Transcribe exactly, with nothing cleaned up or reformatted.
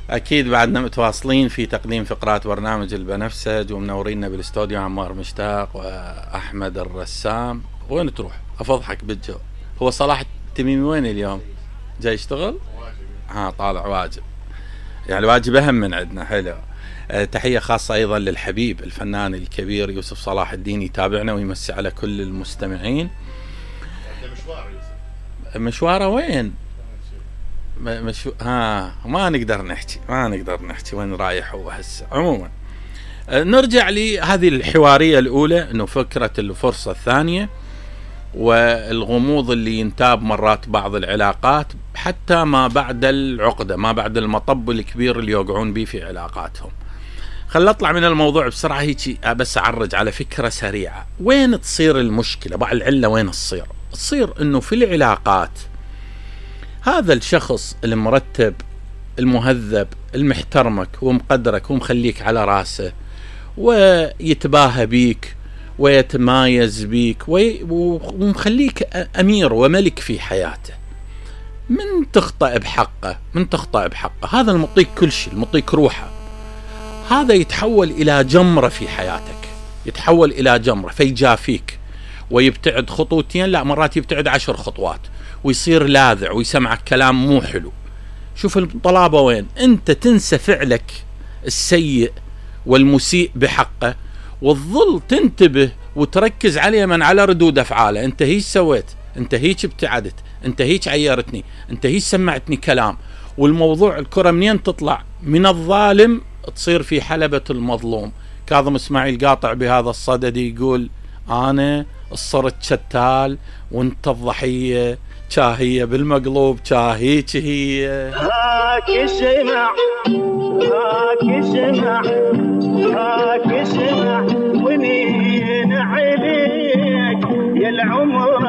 أكيد بعدنا متواصلين في تقديم فقرات برنامج البنفسج، ومنورينا بالاستوديو عمار مشتاق وأحمد الرسام. وين تروح؟ أفضحك بالجو. هو صلاح التميمي وين اليوم؟ جاي يشتغل؟ ها طالع واجب، يعني واجب أهم من عندنا. حلو. أه تحية خاصة أيضا للحبيب الفنان الكبير يوسف صلاح الدين، يتابعنا ويمسي على كل المستمعين. مشواره وين؟ مش ها ما نقدر نحكي ما نقدر نحكي وين رايح هو هسه. عموما نرجع لهذه الحوارية الأولى، إنه فكرة الفرصة الثانية والغموض اللي ينتاب مرات بعض العلاقات حتى ما بعد العقدة، ما بعد المطب الكبير اللي يوقعون به في علاقاتهم. خل أطلع من الموضوع بسرعة هيك، بس أعرج على فكرة سريعة. وين تصير المشكلة؟ بعض العلة وين تصير؟ تصير إنه في العلاقات هذا الشخص المرتب المهذب المحترمك ومقدرك ومخليك على راسه ويتباهى بيك ويتمايز بيك ومخليك أمير وملك في حياته، من تخطأ بحقه من تخطأ بحقه هذا المطيك كل شيء، المطيك روحه، هذا يتحول إلى جمرة في حياتك، يتحول إلى جمرة فيجافيك ويبتعد خطوتين، لا مرات يبتعد عشر خطوات ويصير لاذع ويسمعك كلام مو حلو. شوف الطلابة وين؟ انت تنسى فعلك السيء والمسيء بحقه وتظل تنتبه وتركز عليه من على ردود افعاله. انت هيك سويت، انت هيك ابتعدت، انت هيك عيرتني، انت هيك سمعتني كلام. والموضوع الكرة منين تطلع؟ من الظالم تصير في حلبة المظلوم. كاظم اسماعيل قاطع بهذا الصدد يقول انا صرت شتال وانت الضحية، شاهية بالمقلوب شاهيك هي. هاك اسمع هاك اسمع هاك اسمع ومين عليك يا العمر